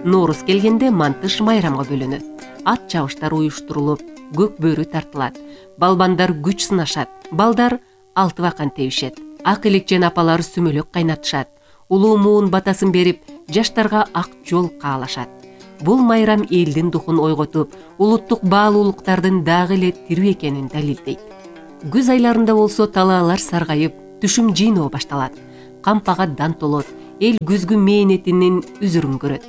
Нооруз келгенде мантыш майрамга бөлүнөт. Ат чабыштар уюштурулуп, көк бөрү тартылат. Балбандар күч сынашат. Балдар алты бакан тебишет. Ак элекчен апалар сүмөлөк кайнатышат. Улуу муун батасын берип, жаштарга ак жол каалашат. Бул майрам элдин духун ойготуп, улуттук баалуулуктардын дагы эле тирүү экенин далилдейт. Күз айларында болсо талаалар саргайып, түшүм жыйноо башталат. Кампага дан толот, эл күзгү мээнетинин үзүрүн көрөт.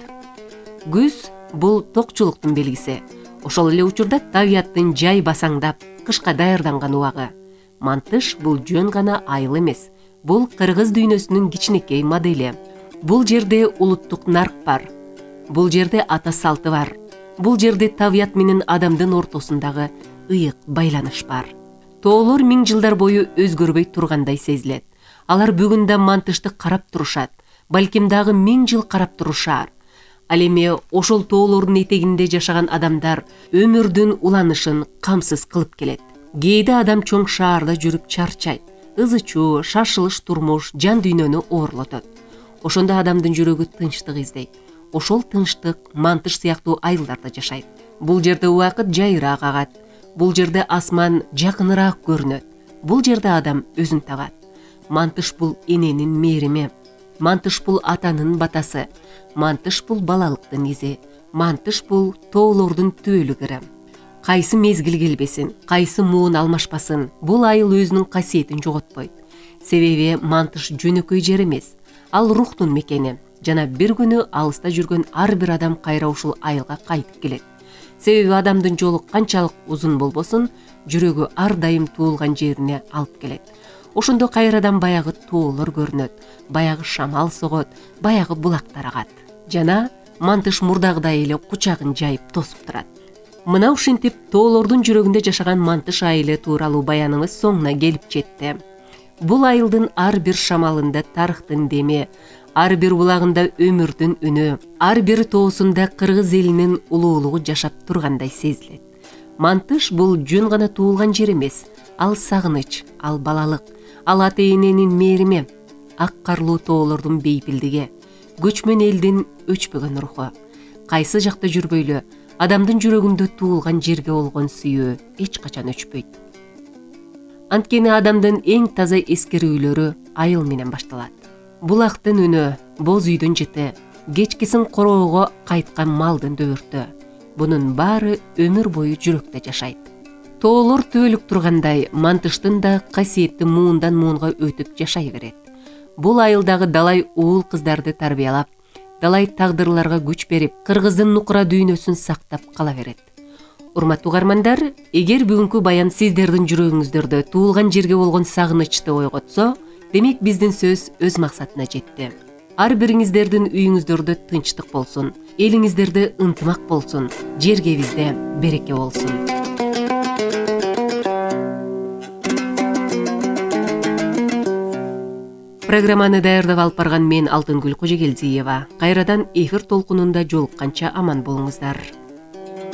Күз бул токчулуктун белгиси. Ошол эле учурда табияттын жай басаңдап, кышка даярданган убагы. Мантыш бул жөн гана айыл эмес. Бул кыргыз дүйнөсүнүн кичинекей модели. Бул жерде улуттук нарк бар. Бул жерде ата салты бар. Бул жерде табият менен адамдын ортосундагы ыйык байланыш бар. Тоолор миң жылдар бою өзгөрбөй тургандай сезилет. Алар бүгүн да мантышты карап турушат. Балким дагы 1000 жыл карап турушар. Ал эми ошол тоолордун этегинде жашаган адамдар өмүрдүн уланышын камсыз кылып келет. Кээде адам чоң шаарда жүрүп чарчайт. Ызы-чуу, шашылыш турмуш жан дүйнөнү оорлотот. Ошондо адамдын жүрөгү тынчтык издейт. Ошол тынчтык мантыш сыяктуу айылдарда жашайт. Бул жерде убакыт жайыраак агат. Бул жерде асман жакыныраак көрүнөт. Бул жерде адам өзүн табат. Мантыш бул эненин мээрими. Мантыш бул атанын батасы. Мантыш бул балалыктын изи. Мантыш бул тоолордун түбөлүгүрө. Кайсы мезгил келбесин, кайсы муун алмашпасын, бул айыл өзүнүн касиетин жоготпойт. Себеби мантыш жөнөкөй жер эмес. Ал рухтун мекени. Жана бир күнү алыста жүргөн ар бир адам кайра ушул айылга кайтып келет. Себеби адамдын жолу канчалык узун болбосун, жүрөгү ар дайым туулган жерине алып келет. Ошондо кайрадан баягы тоолор көрүнөт, баягы шамал согот, баягы булактар агат. Жана мантыш мурдагыдай эле кучагын жайып тосуп турат. Мына ушинтип тоолордун жүрөгүндө жашаган мантыш айылы тууралуу баяныбыз соңуна келип жетти. Бул айылдын ар бир шамалында тарыхтын деми, ар бир булагында өмүрдүн үнү, ар бир тоосунда кыргыз элинин улуулугу жашап тургандай сезилет. Мантыш бул жөн гана туулган жер эмес, ал сагыныч, ал балалык, ал ата эненин мээрими, ак карлуу тоолордун бейпилдиги, көчмөн элдин өчпөгөн руху. Кайсы жакта жүрбөйлү, адамдын жүрөгүндө туулган жерге болгон сүйүү эч качан өчпөйт. Анткени адамдын эң таза эскерүүлөрү айыл менен башталат. Булактын үнү, боз үйдүн жыты, кечкисин короого кайткан малдын дөбөртү. Бунун баары өмүр бою жүрөктө жашайт. Тоолор түбөлүк тургандай, мантыштын да касиетти муундан муунга өтүп жашай берет. Бул айылдагы далай уул кыздарды тарбиялап, далай тагдырларга күч берип, кыргыздын нукура дүйнөсүн сактап кала берет. Урматтуу угармандар, эгер бүгүнкү баян сиздердин жүрөгүңүздөрдө туулган жерге болгон сагынычты ойготсо, демек биздин сөз өз максатына жетти. Ар бириңиздердин үйүңүздөрдө тынчтык болсун, элиңиздерде ынтымак болсун, жергебизде береке болсун. Программаны даярдап алып барган мен Алтынгүл Кожогелдиева. Кайрадан эфир толкунунда жолукканча аман болуңуздар.